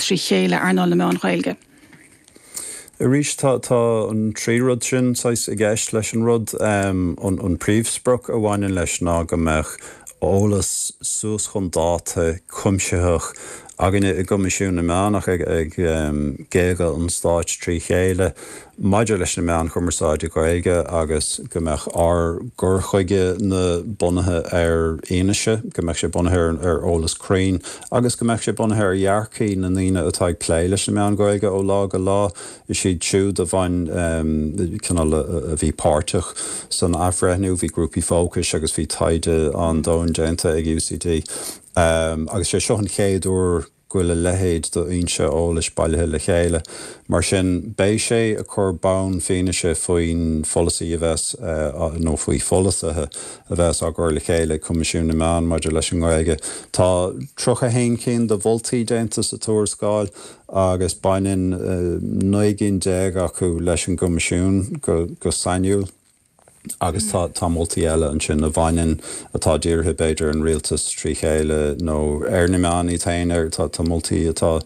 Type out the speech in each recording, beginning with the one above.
trí chéile, earnáil na meán Ghaeilge? Arís, tá tá an trí rud sin saghas i gceist leis an rud. An príomhsprioc a bhaineann leis ná go mbeadh eolas suas chun dáta, cuimsitheach, againne i gCoimisiún na Meán ach ag géaga an stáit trí chéile maidir leis na meáin chumarsáide Gaeilge agus go mbeadh ár gcur chuige na bunaithe ar fhianaise, go mbeadh sé bunaithe ar eolas cruinn agus go mbeadh sé bunaithe ar dhearcthaí na ndaoine atá ag plé leis na meáin Ghaeilge ó lá go lá. Is iad siúd a bhain, cineál, a bhí páirteach san athbhreithniú, bhí grúpaí fócais agus bhí taighde an-domhain déanta ag UCD agus sé seo an chéad uair go bhfuil a leithéid d'fhoinse eolais bailithe le chéile. Mar sin, beidh sé ag cur bonn fianaise faoin pholasaí a bheas, nó faoi pholasaithe a bheas á gcur le chéile ag Coimisiún na Meán maidir leis an nGaeilge. Tá 31 cinn de mholtaí déanta sa tuarascáil agus baineann 19 gcinn acu leis an gCoimisiún go sainiúil agus tá tá moltaí eile ansin a bhaineann, atá dírithe b'fhéidir ar an rialtas trí chéile nó ar na meáin iad féin, ar tá tá moltaí atá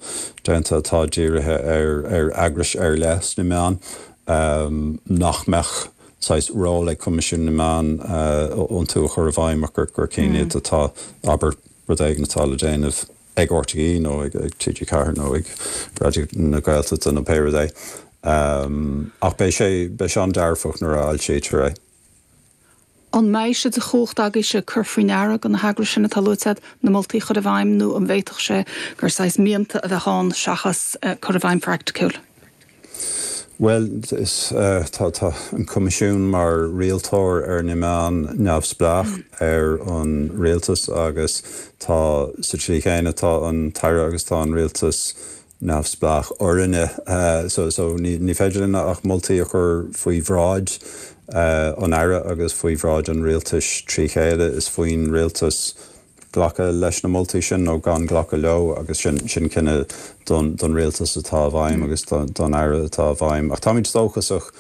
déanta atá dírithe ar ar eagrais ar leith sna meáin nach mbeadh saghas ról ag Coimisiún na Meán iontu a chur i bhfeidhm ach gur gur cinn iad atá, abair, rud éigin atá le déanamh. ag RTÉ nó ag TG4 nó ag Raidió na Gaeltachta nó pé rud é. Ach beidh sé, beidh sé an-dearfach nuair a fhoilsítear é. An mbeidh sé de chumhacht agaibhse cur faoi ndeara do na heagrais sin atá luaite agat, na moltaí a chur i bhfeidhm nó an bhféadfadh sé gur saghas mianta a bheadh ann seachas cur i bhfeidhm phraiticiúil? Bhuel, is, tá, tá an Coimisiún mar rialtóir ar na meáin neamhspleách ar an rialtas agus tá, sa tslí chéanna, tá an tAire agus tá an rialtas neamhspleách orainne. So, so ní, ní féidir linn ach moltaí a chur faoi bhráid an Aire agus faoi bhráid an rialtais trí chéile. Is faoin rialtas glacadh leis na moltaí sin nó gan glacadh leo agus sin sin cinneadh don don rialtas atá i bhfeidhm agus don don Aire atá i bhfeidhm. Ach táimid dóchasach.